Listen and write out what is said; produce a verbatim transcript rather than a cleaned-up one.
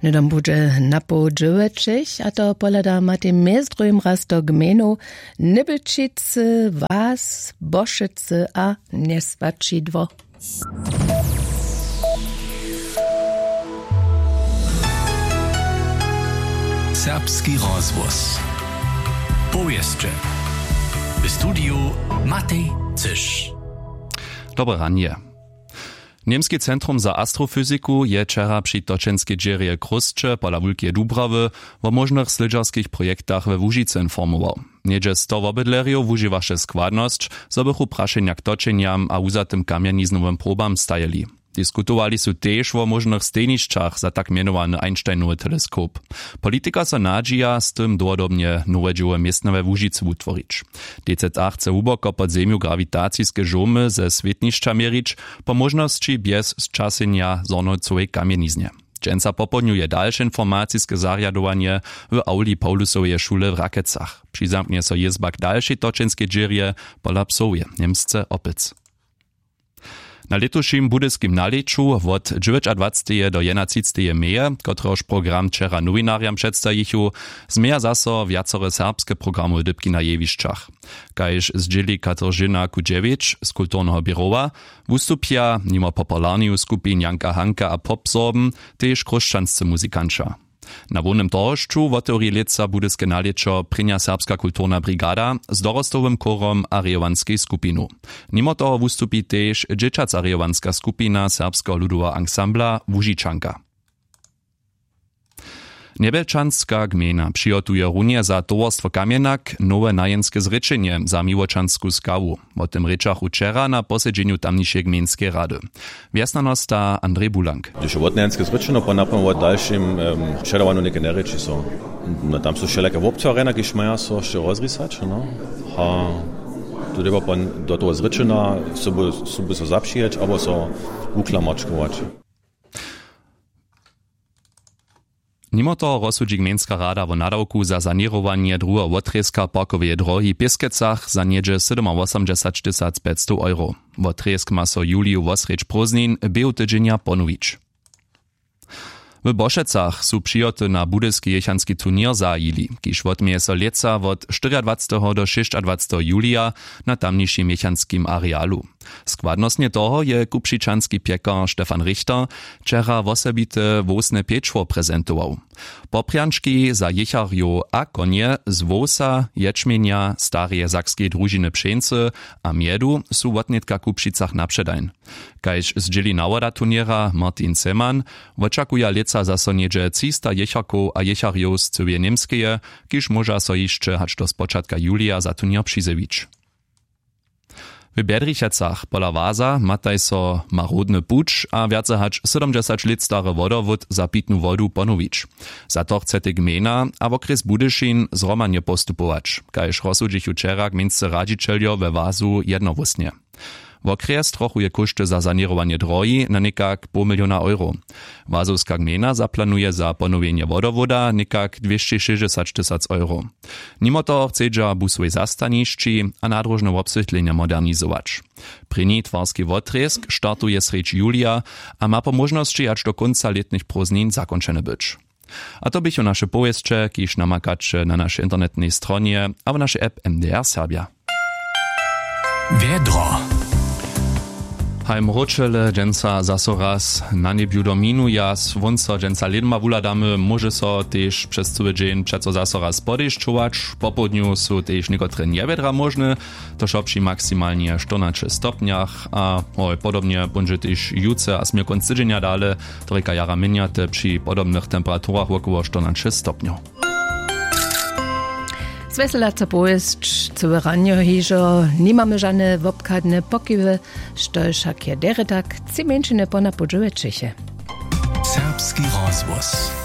Hnydom budźe napoł dźewjećich, a to pohladama tej mjez druhim raz do gmejnow Nybelčicy, Was, Bošecy a Njeswaćidło. Serbski rozhłos. Powěsće. W studiju Matej Cyš. Dobre ranje. Němski centrum za astrofyziku je wčera při točenskej dźěrje Chrósće pola Wulkeje Dubrawy wo móžnych slědźerskich projektach we Łužicy informował. Něhdźe sto wobydlerjow wužiwaše składnosć, zo bychu prašenja k točenjam a wuzatym kamjeniznowym probam stajeli. Diskutowali su tež wo móžnych stejnišćach za tak mjenowany Einsteinowy teleskop. Politika so nadźija, z tym dołhodobnje nowe dźěło městna we Łužicy wutworić. D Z A chce hłuboko pod zemju grawitaciske žołmy ze swětnišća měrić, po móžnosći bjez sćasenja zhornowcowej kamjeniznje. Dźensa popołdnju je dalše informaciske zarjadowanje w awli Paulusoweje šule w Rakecach. Přizamknje so jězba k dalšej točenskej dźěrje pola psoweje Němsce Opec. Na lětušim budyskim nalěću wot dźewjećadwaceteje do jedynatřiceteje meje, kotrehož program wčera nowinarjam předstajichu, změja zaso wjacore serbske programowe dypki na jewišćach. Kaž zdźěli Kateržina Kudźewjeć z kulturneho běrowa, wustupja nimo popularneju skupin Janka Hanka a Pop Sorben tež chróšćanscy muzikanća. Na hłownym torhošću wotewri lětsa budyske nalěćo prěnja serbska kulturna brigada z dorostowym chórom a rejowanskej skupinu. Nimo toho wustupi tež dźěćaca rejowanska skupina serbskeho ludoweho ansambla Łužičanka. Njebjelčanska gmejna přihotuje runje za towarstwo Kamjenak nowe najenske zrěčenje za miłočansku skawu. Wo tym rěčachu wčera na posedźenju tamnišeje gmejnskeje rady. Wjesnjanosta Andrej Bulank. Hdyž je wotnajenske zrěčeno po napomłu wo dalšim em, předawanju něke njerěči so. No, tam su wšelake wobtwarjena, kiž maja so hišće rozrisać, no. A tu dyrbja pon do toho zrěčena sobu, sobu so zapřijeć abo so wuklamačkować. Nimo toho rozsudźi gmejnska rada wo nadawku za saněrowanje druheho wotrězka parkoweje drohi w Pěskecach za něhdźe sydomawosomdźesat tysac pjećstow euro. Wotrězk ma so w juliju wosrjedź prózdnin běhu tydźenja ponowić. W Bošecach su přihoty na budyski jěchanski turněr zahajili, kiž wotměje so lětsa wot štyriadwaceteho do šěsćadwaceteho julija na tamnišim jěchanskim arealu. Składnostnje toho je kupřičanski pjekar Stefan Richter wčera wosebite wowsne pječło prezentował. Poprjančki za jěcharjow a konje z wowsa, ječmjenja, stareje sakskeje družiny pšeńcy a mjedu su wotnětka w Kupřicach na předajń. Kaž zdźěli nawoda turněra Martin Zeman, wočakuja lětsa zaso něhdźe třista jěcharkow a jěcharjow z cyłeje Němskeje, kiž móža so hišće hač do spočatka julija za turněr přizjewić. W Bjedrichecach pola Waza mataj so marodny puć a wjace hač sydomdźesać lět stary wodowód za pitnu wodu ponowić. Za to chcetej gmejna a wokrjes Budyšin zhromadnje postupować, kaž rozsudźichu wčera gmejnscy radźićeljo we Wazu jednohłósnje. Wokrjes trochuje kóšty za saněrowanje drohi na někak poł miliona euro. Wazowska gmejna zaplanuje za ponowjenje wodowóda někak dwěsćešěsćdźesać tysac euro. Nimo toho chcedźa busowej zastanišći a nadróžne wobswětlenja modernizować. Prěni twarski wotrězk startuje srjedź julija a ma po móžnosći hač do kónca lětnych prózdnin zakónčeny być. A to běchu naše powěsće, kiž namakaće na našej internetnej stronje a w našej app M D R Serbja. Wjedro. Haj mróčele dźensa zaso raz na njebju dominuja, słónco dźensa lědma wuhladamy, móže so tež přez cyły dźeń přeco zaso raz podešćować. Popołdnju su tež někotre njewjedra móžne, to wšo při maksimalnje štyrnaće stopnjach a hoj, podobnje póńdźe tež jutře a směr kónc tydźenja dale, to rěka jara měnjate při podobnych temperaturach wokoło štyrnaće stopnjow. Zwjeselaca powěsć cyłe ranjo hižo, nimamy žane wobchadne pokiwy, štož wšak je derje tak, tři mjeńšiny pona pódźewy čěche. Serbski rozhłos.